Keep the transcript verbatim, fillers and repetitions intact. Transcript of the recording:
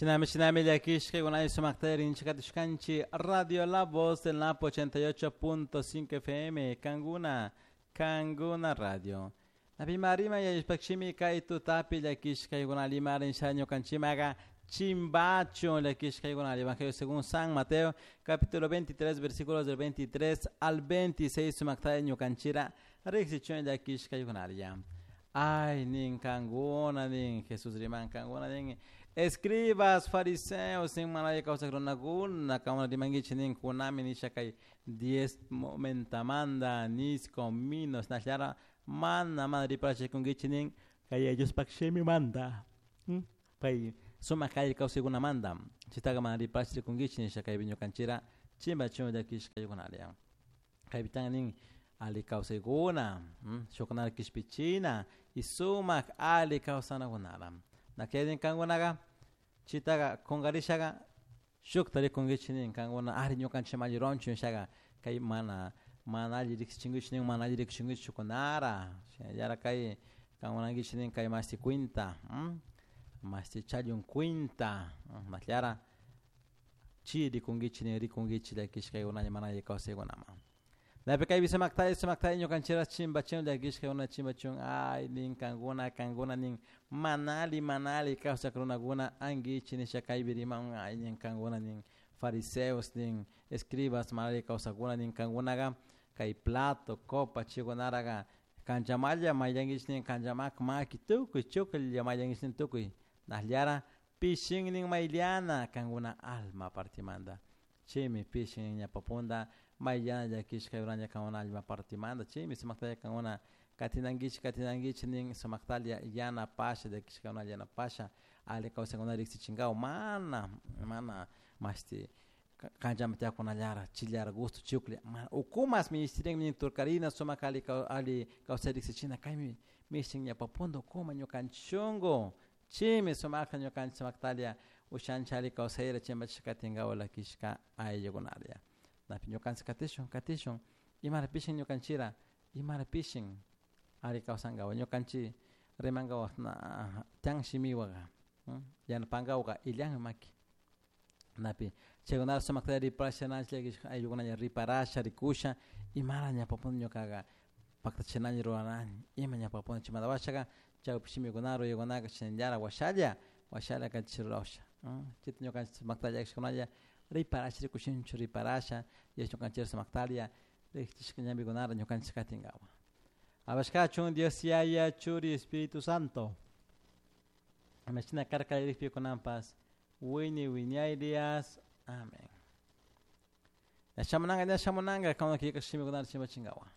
Shinami shinami llakishka sumakta rinchikatishkanchik Radio La Voz del Napo ochenta y ocho punto cinco F M, Kanguna Kanguna Radio. Napi marima yallishpakshimi kay tutapi llakishkaykuna limarin ñukanchimaga chimbachun llakishkaykuna Evangelio según San Mateo, capítulo veintitrés, versículos del veintitrés al veintiséis, sumakta ñukanchira riksichun llakishkaykunalla. Ay, nin kanguna nin Jesús riman kanguna nin escribas, fariseos, nin manaya kawsak runakuna, kanguna rimankichik nin kunami nisha kay diezmo mentamanda, anís, cominos, nallara mana mana riparachikunkichik nin kay Diospak shimimanta kay sumak alli kawsaykunamanta chaytaka mana riparachikunkichik nisha kaypi ñukanchira chimbachun llakishkaykunalla kaypitan nin alli kawsaykuna shukkunata kishpichina y sumak alli kawsanakunara nakedin kankunaga chitaga kunkarishaga shukta rikunkichik nin kankuna ari ñukanchik alli ruranchik nishaga kay mana mana alli riksichinkichik nin mana alli riksichinkichik shukkunara shinallara kay kankunankichik nin kay mashti cuenta mashti challun cuenta mashllara chi rikunkichik nin rikunkichik llakishkaykunalla mana alli kawsaykunaman napi kaypi sumaktalla sumaktalla ñukanchikra chimbachun llakishkakuna chimbachun ay nin kankuna kankuna nin mana alli mana alli kawsak runakuna ankichik nisha kaypi riman ay nin kankuna nin fariseos nin escribas mana alli kawsakuna nin kankunaga kay plato, copa chaykunaraga kanchamalla mayllankichik nin kanchamaka maki tukuy chuklla mayllankichik nin tukuy nasllara pishin nin mayllana kankuna alma partimanta chaymi pishin ñawpa mayllana llakishka kankuna alma partimanta chaymi sumaktalla kankuna katinankichik katinankichik nin sumaktalla yanapasha llakishkakuna yanapasha alli kawsaykuna riksichinkapak mana mana mashti kanchaman tiyakunallara chillara gusto chuklla mana ukumas minishtirin nin turkarina sumak alli alli kawsay riksichina kaymi mishtin ñawpa punta ukuma ñukanchik shunku chaymi sumakta ñukanchik sumaktalla ushanchik alli kawsayta chimbachishka katinkapak llakishka ayllukunalla napi ñukanchik katishun katishun imara pishin ñukanchira imara pishin alli kawsankapak ñukanchik rimankapak tiyan shimiwaka yanapankawaka illanmi maki napi chaykunata sumakta riparasha llakishka ayllukunalla riparasha rikusha imara ñawpa punta ñukaka paktachinani ruranani ima ñawpa punta chaymanta washaka chawpi shimikuna ruraykunaka chinallara washalla washalla kachik rurasha chayta ñukanchik sumakta llakishkunalla riparasha rikushinchik riparasha y ñukanchik sumaktalla riksichishka ñambikunata ñukanchik katinkapak. Alabashkachun Dios Yaya, Churi, Espíritu Santo. Imashina karka kallarikpi kunanpas wiñay wiñayrias. Amén. Ña shamunanka, ña shamunanka, kawna killka shimikunata chimbachinkawan.